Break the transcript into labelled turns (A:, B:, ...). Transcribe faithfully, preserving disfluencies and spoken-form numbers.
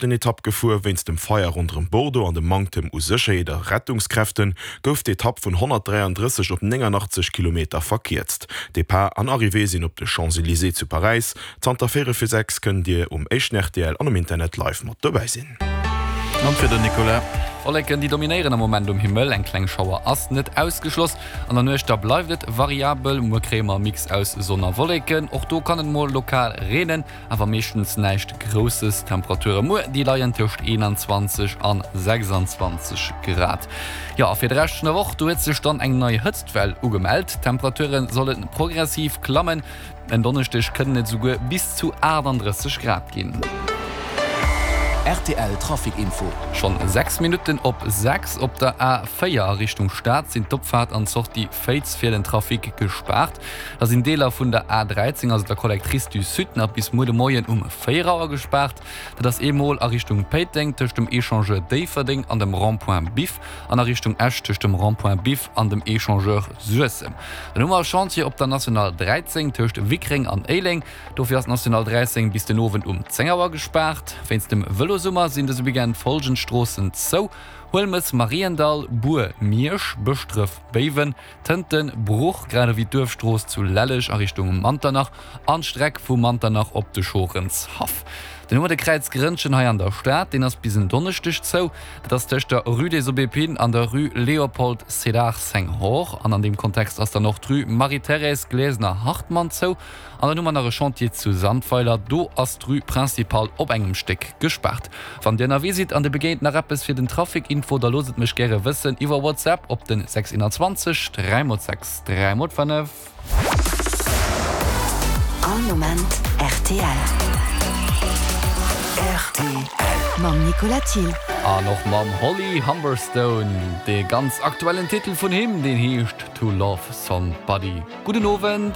A: Etapp gefuer. Wéinst dem Feier ronderëm Bordeaux an dem Manktem u Sécherheet a Rettungskräfte gouf d'Etapp vun honnertdräiandrësseg op nénganachtzesch Kilometer verkierzt. Depart an Arrivée sinn op de Champs-Élysées zu Paräis. Zanter véierel vir sechs kënnt Dir um éischten R T L an um Internet live mat dobäi sinn.
B: An fir den Nicolas.
C: Wolleken déi dominéieren am Moment um Himmel, eng kleng Schauer ass net ausgeschloss. An der Nuecht da bleift et variabel, muer kréie mer e Mix aus Sonn a Wolleken, och do kann et mol lokal reenen, awer meeschtens näischt Grousses. D'Temperature muer déi leien tëscht eenanzwanzeg an sechsanzwanzeg Grad. Jo a fir de Rescht vun der Woch, do huet sech dann eng nei Hëtztwell ugemellt. D'Temperature solle progressiv klammen, en Donneschdeg kënnen et esouguer bis zu achtandrësseg Grad ginn.
D: R T L Trafic Info.
C: Schonn sechs Minutten op sechs. Op der A véier a Richtung Stad sinn d'Opfaart an d'Sortie Féiz fir den Trafic gespaart. Da sinn Deeler vun der A dräizéng, also der Collectrice du Sud, nach bis muer de Moien um véier Auer gespaart. Dat ass eemol a Richtung Péiteng tëscht dem Echangeur Déifferdeng an dem Rond-point Biff an a Richtung Esch tëscht dem Rond-point Biff an dem Echangeur Suessem. Dann hu mer e Chantier op der National dräizéng tëscht Wickreng an Éileng. Dofir ass d'National dräizéng bis den Owend um zéng Auer gespaart. Wéinst dem Vëlosummer sinn dëse Weekend follgend Stroossen zou, Huelmes, Mariendall, Bur, Miersch, Bëschdref, Béiwen, Tënten, Bruch, grad ewéi d'Duerfstrooss zu Lelleg a Richtung Manternach an d'Streck vu Manternach op de Schorenshaff. Dann hu mer de Kräiz Grënnchen hei an der Stad, deen ass bis en Donneschdeg zou. Dat ass tëscht der Rue des Aubépines an der Rue Léopold Sédar Senghor. An an deem Kontext ass dann och d'Rue Marie-Thérèse Glesener-Hartmann zou. An dann hu mer nach e Chantier zu Sandweiler, do ass d'Rue Principale op engem Stéck gespaart. Wann Dir ënnerwee sidd an Dir begéint nach eppes fir den Trafic Info, da loosst et mech gäre wëssen iwwer WhatsApp op den sechs einundzwanzeg dräi mol sechs dräi mol fënnef.
E: All Moment R T L.
D: R T L.
E: Mam Nicolas Thiel.
C: An och mam Holly Humberstone, dee ganz aktuellen Titel vun him, deen heescht To Love Somebody. Gudden Owend.